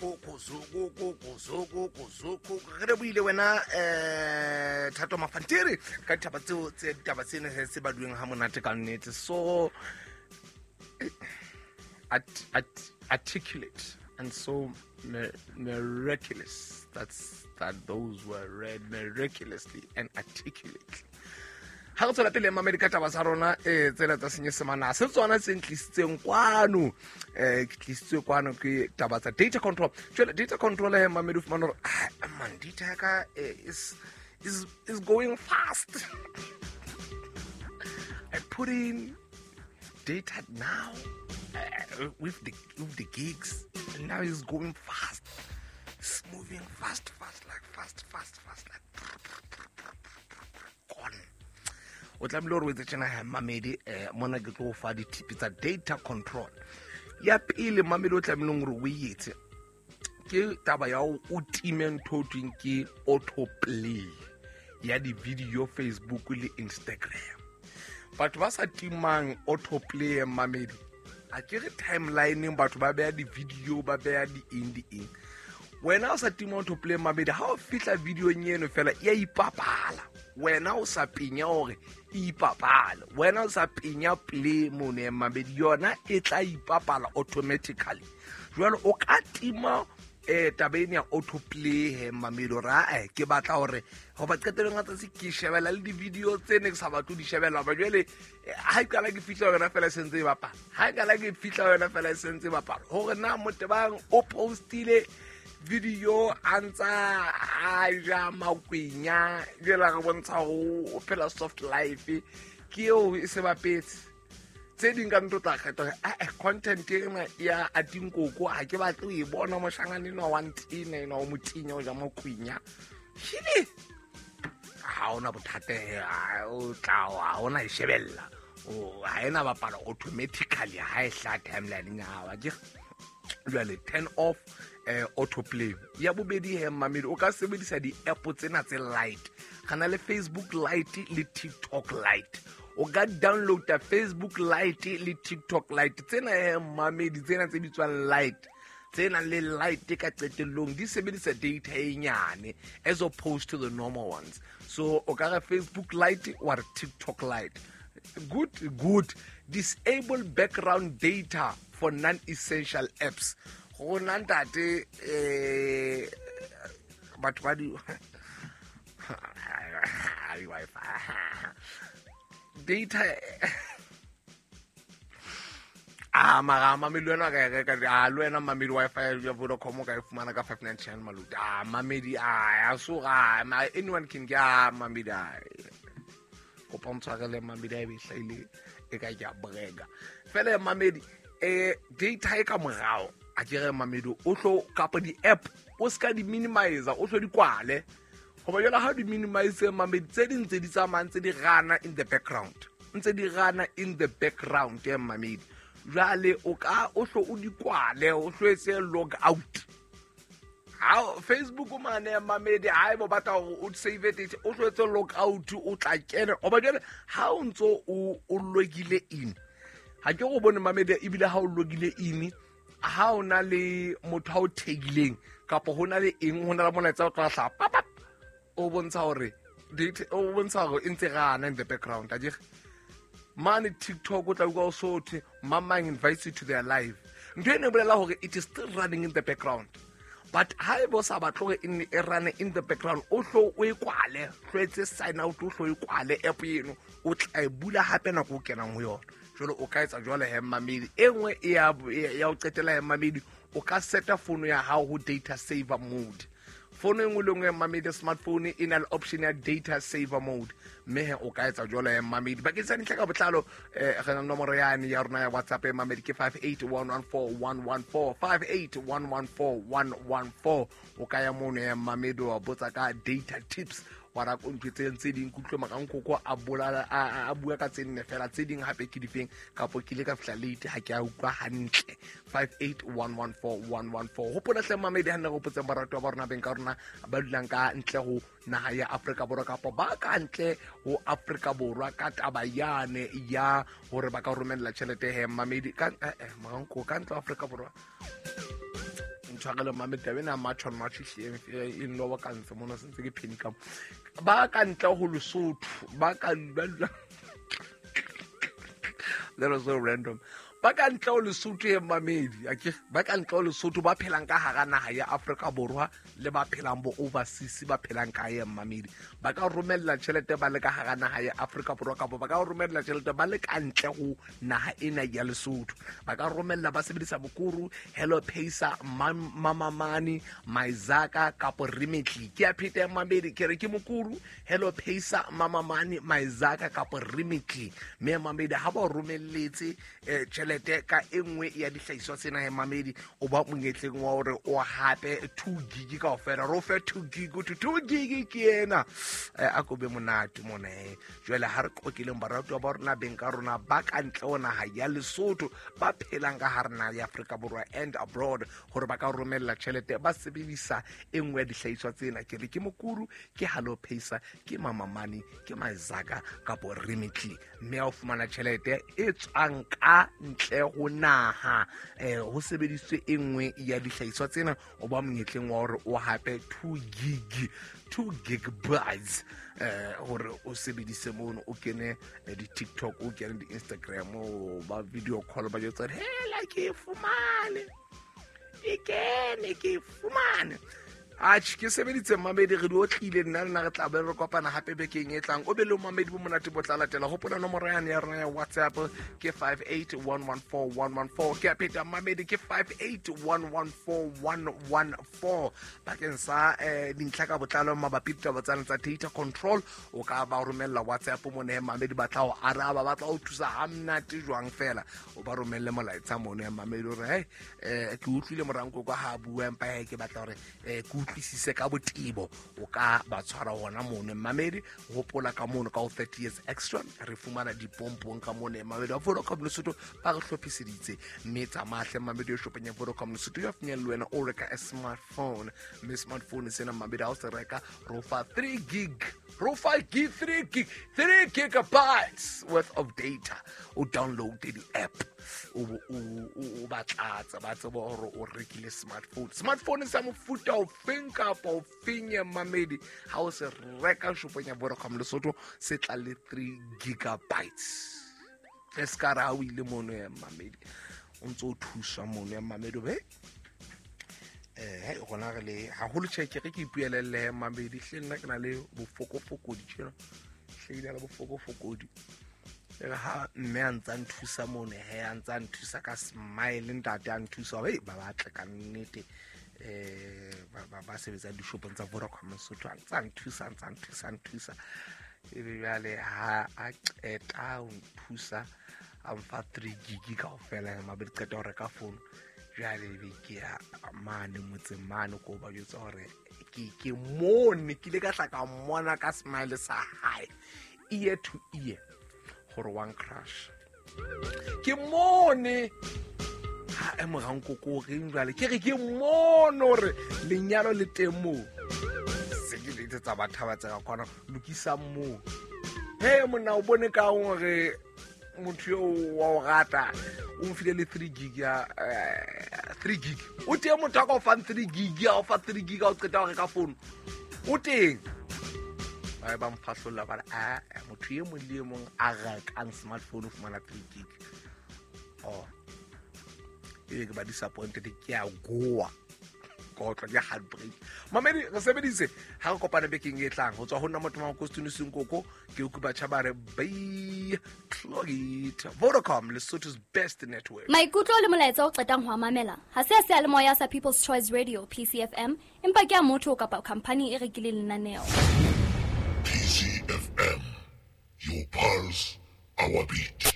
Re lebohile wena Thato Mafantiri ka ditaba tseo tse ditaba tsene tse baduweng ha monate ka nnete. So articulate and so miraculous. That's that those were read miraculously and articulately. Ha re tswela pele, mamedi, ka taba tsa rona tsena tsa Senyesemane, ha se tsona tse ntlisitseng kwano. Ke tlisitswe kwano ke taba tsa data control. Jwale data control he, mamedi, o fumana hore, ah, man, data ya ka is going fast. I put in data now with the gigs, and now it's going fast. It's moving fast, fast, like fast, fast, fast, like gone. O tlamehile gore o etse tjena ha, mamedi. Mona ke tlo o fa ditipi tsa data control. Ya pele, mamedi, o tlamehileng gore o e etse ke taba ya o time ntho o tweng ke autoplay ya di-video, Facebook le Instagram. Batho ba sa timang autoplay, mamedi, a ke re timelineng batho ba beya di-video, ba beya di-eng di-eng. Wena o sa tima autoplay, mamedi, ha o fihla videong eno fela e a ipapala. Wena o sa penya gore e ipapale, wena o sa penya play mono, mamedi, yona e tla ipapala automatically. Jwale o ka tima taba ene ya autoplay he, mamedi, gore ae ke batla gore goba qetelong a tsatsi ke shebela le di-video tse ne ke sa batle di shebela. Ba jwale ha e qala ke fihla yona fela e sentse e bapala, ha e qala ke fihla yona fela e sentse e bapala, gore na motebang o postile video a ntsa a ja makwenya, jela re bontsha go o phela soft life, ke eo e se bapetse. Tse ding ka ntho tla kgetha gore ee, content ena ya atinkoko ga ke batle o e bona. Moshangane enwa wa ntena, enwa o motinya o ja makwenya shile, ga ona bothata, o tla ga ona e shebella, ga ena bapala automatically ha e hla timelineng ya gago akere. Jwale turn off autoplay. Ya bobedi he, mamedi, o ka sebedisa di-app tsena tse light. Ga na le Facebook Lite le TikTok Lite. O ka downloada Facebook Lite le TikTok Lite tsena he, mamedi, tsena tse bitswang Lite, tse nang le Lite ka qetellong, di sebedisa data e nyane as opposed to the normal ones. So o ka re Facebook Lite wa re TikTok Lite. Good, good. Disable background data for non-essential apps. Go nna ntate, batho ba di Wi-Fi data a mara mamedi, wena ka e reka a le wena, mamedi, Wi-Fi ya Vodacom o ka e fumana ka 599 maluti. A mamedi, a ya so ga ma anyone can get a mamedi. A kopa ntshwarele, mamedi, a e be hlaile e ka ke a brega fela, mamedi. Data e ka morao a ke re, mamedi, o tlo kapa di-app o se ka di-minimizer, o tlo di kwale goba jalo. Ha o di minimize, mamedi, tse ding tse di tsamayang tse di rana in the background, ntse di rana in the background ya, mamedi. Jwale o ka o hlo o di kwale, o hlo etse log out ha Facebook mane, mamedi. Ha ebo batla hore o save data, o hlo etse log out, o tla kena oba jwale ha o ntso o logile in. Ha ke go bone, mamedi, ebile ha o logile in, ha o na le motho ha o thegileng kapa ho na le eng, ho na le molaetsa o tla hlaha papap, o bontsha hore data, o bontsha hore e ntse rana in the background akere. Mane TikTok o tla utlwa o sothe mamang invites you to their live, ntho ene e bolela hore it is still running in the background. But ha e bo sa batle hore e nne e rane in the background, o hlo o e kwale, hlo etse sign out, o hlo e kwale app eno, o tla e bula hape nako o kenang ho yona. Jwale o ka etsa jwale he, mamedi. E nngwe ya ho qetela he, mamedi, o ka seta fono ya hao ho data saver mode. Fono e nngwe le nngwe, mamedi, smartphone e na le option ya data saver mode, mme he o ka etsa jwalo ya, mamedi. Bakeng sa dintlha ka botlalo, re na nomoro yane ya rona ya WhatsApp ya, mamedi, ke 58114114, 58114114. O ka ya mono ya, mamedi, wa botsa ka data tips, wa ra ko ntho tse ding ke utlwe makankoko a bolala a bua ka tse nne fela, tse ding hape ke difeng, kapo ke ile ka fihla late, ha ke a utlwa hantle. 58114114. Hopola hle, mamedi, ha nne re hopotseng baratuwa ba rona, beng ka rona ba dulang ka ntle ho naha ya Afrika Borwa kapa ba ka ntle ho Afrika Borwa, ka taba yane ya hore ba ka romella tjhelete he, mamedi, ka moranko ka ntle ho Afrika Borwa. ntshwarele mame taba ena march on March ehlile e nloba ka ntse mona sentse ke pheni ka mo. Ba ka ntle ho Lesotho ba ka ba dula, that was so random, ba ka ntle ho Lesotho e mamedi akere, ba ka ntle ho Lesotho ba phelang ka hara naha ya Afrika Borwa le ba phelang bo overseas, ba phelang kae mamedi, ba ka romella tjhelete ba le ka hara naha ya Afrika Borwa kapa ba ka romella tjhelete ba le ka ntle ho naha ena ya Lesotho. Ba ka romella ba sebedisa Mukuru, Hello Pacer, Mama Money, Maizaka kapo Remitly. Ke a pheta mamedi, ke re ke Mukuru, Hello Pacer, Mama Money, Maizaka kapo Remitly. Mme mamedi ha ba romelletse tjhelete ka e nngwe ya dihlahiswa tsena he mamedi, o ba monyetleng wa hore o hape 2 gig kaofela. Re o fe 2 gig, o thwe 2 gig ke ena. A ko be monate mona he. Jwale ha re qoqeleng baratuwa ba rona, beng ka rona ba ka ntle ho naha ya Lesotho, ba phelang ka hare naha ya Afrika Borwa and abroad, hore ba ka romella tjhelete ba sebedisa e nngwe ya dihlahiswa tsena. Ke re ke Mukuru, ke Hello Pacer, ke Mama Money, ke Maizaka kapo Remitly. Mme ha o fumana tjhelete e tswang ka ntle ho naha, ho sebedisitswe e nngwe ya dihlahiswa tsena, o ba monyetleng wa hore o hape 2 gig, 2 gigabytes, hore o sebedise mono, o kene di-TikTok, o kene di-Instagram, o ba video call, ba jwetsa hore, hela ke e fumane, e kene, ke e fumane. Atjhe, ke sebeditse mamedi, re di otlile nna le nna re tla be re kopana hape bekeng e tlang. O be le mamedi bo monate bo tla latela. Hopola nomoro yane ya rona ya WhatsApp ke 58114114. Ke a pheta mamedi, ke 58114114. Bakeng sa dintlha ka botlalo mabapi le ditaba tsane tsa data control, o ka ba romella WhatsApp mone mamedi, ba tla o araba, ba tla o thusa ha monate jwang fela. O ba romelle molaetsa mone mamedi hore, hey, ke utlwile morankoko ha bua, empa he ke batla hore, ke utlwisise ka botebo. O ka ba tshwara hona mono mamedi. Hopola ka mono ka ho 30 years extra re fumana dipompong ka mono mamedi wa Vodacom Lesotho ba re hlophiseditse. Mme tsamahle mamedi o shopeng ya Vodacom Lesotho ya finyelle wena o reka a smartphone, mme smartphone sena mamedi ha o se reka ro fa 3 gig, ro fa gig, 3 gig, 3 gigabytes worth of data. O download di-app, o ba tlatsa, ba tseba hore o rekile smartphone. Smartphone sa mofuta o feng kapa o feng ya mamedi, ha o se reka shopong ya Vodacom Lesotho se tla le 3 gigabytes. E se ka re ha o ile mono ya mamedi, o ntso o thuswa mono ya mamedi, o be, rona re le haholo tjhe, ke re ke ipuelelle mamedi, hle nna ke na le bofokofokodi tjena, hle ke na le bofokofokodi. E re ha mme a ntsa nthusa mono, he a ntsa nthusa ka smile, ntate a nthusa, hei, ba batle ka nnete, ba sebetsang dishopong tsa Vodacom Lesotho, a ntsa nthusa, a ntsa nthusa, a nthusa. Ebe jwale ha a qeta ho nthusa, a mfa 3 gig kaofela, mabedi qeta ho reka phone. Jwale ebe ke ya mane motseng mane ko ba jwetsa hore ke mone, ke ile ka tla ka mmona ka smile sa hae, ear to ear, hore one crush. Ke mone ha e morankoko o reng jwale, ke re ke mone hore lenyalo le teng moo. Se ke le tsa batho ba tseba kwana lokisang moo. He monna o bone ka hore motho eo wa o rata o mfile le 3 gig ya 3 gig. O teng motho a ka o fang 3 gig, a o fa 3 gig a o qeta ho reka phone. O teng. Ba ba mfahlolla ba re, motho e mong le e mong a rekang smartphone o fumana 3 gig. Oh. Ebe ke ba disappointed, ke a goa. Kotlo ke heartbreak. Mamedi re sebedise ha re kopane bekeng e tlang. Ho tswa ho nna motho wa Kostune Senkoko, ke utlwe batjha ba re bye, clog it. Vodacom, Lesotho's best network. Maikutlo le molaetsa o qetang ho a mamela ha se a seyalemoya sa People's Choice Radio PCFM, empa ke a motho kapa khampani e rekileng lenaneo. PCFM, your pulse, our beat.